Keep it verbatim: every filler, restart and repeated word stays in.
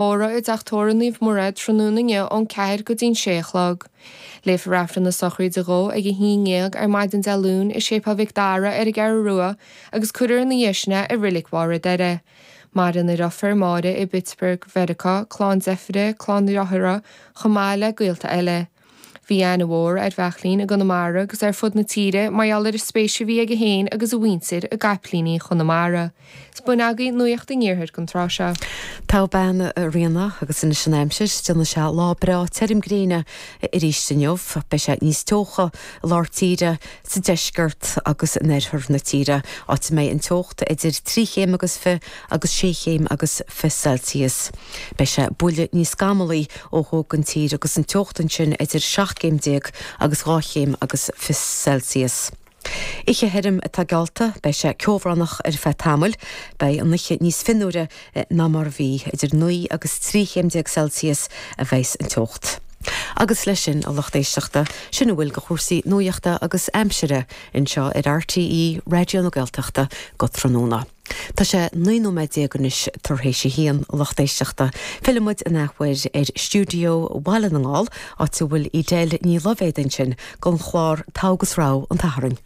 Tórramh i dTeach Tórraimh Naomh Muire tráthnóna inniu ón ceathair go dtí'n sé a chlog. Léifear Aifreann na sochraide dhó ag a haon dhéag ar maidin Dé Luain i Séipéal Mhic Dara ar an gCeathrú Rua agus cuirfear ina dhiaidh sin é i Reilig Bharr Doire. Maireann a dheirfiúr Máire i bPittsburgh, Mheiriceá, clann deirféar, clann dearthár, chomh maith le gaolta eile. Bhí aithne mhór ar Bheachlín i gConamara agus ar fud na tíre mar gheall ar an spéis a bhí aige féin agus a mhuintir i gcaipíní Chonamara. 'S b'in agaibh nuacht an iarthair don tráth seo. Tá bean a Ríona agus anois an aimsir, déanfaidh sé lá breá tirim gréine arís inniu, beidh sé níos teocha i lár tíre, sa deisceart agus in oirthear na tíre, áit a mbeidh an teocht idir trí chéim agus fiche agus sé chéim agus fiche Celsius. Beidh sé buille níos scamallaí ó thuaidh den tír agus an teocht ansin idir seacht gcéim déag agus dhá chéim agus fiche Celsius. Oíche thirim atá geallta, beidh sé ceobhránach ar feadh tamaill, beidh an oíche níos fionnuaire ná mar a bhí, idir naoi agus trí chéim déag Celsius a bheas an teocht. Agus leis sin a lucht éisteachta, sin a bhfuil de chúrsaí nuachta agus aimsire anseo ar RTÉ Raidió na Gaeltachta go tráthnóna. Tá sé naoi nóiméad déag anois tar éis a haon a lucht éisteachta. Fillfidh muid an athuair ar stiúideo Bhaile na nGall, áit a bhfuil Edel Ní Loibhéad ansin don chlár Togha agus Rogha an tSathairn.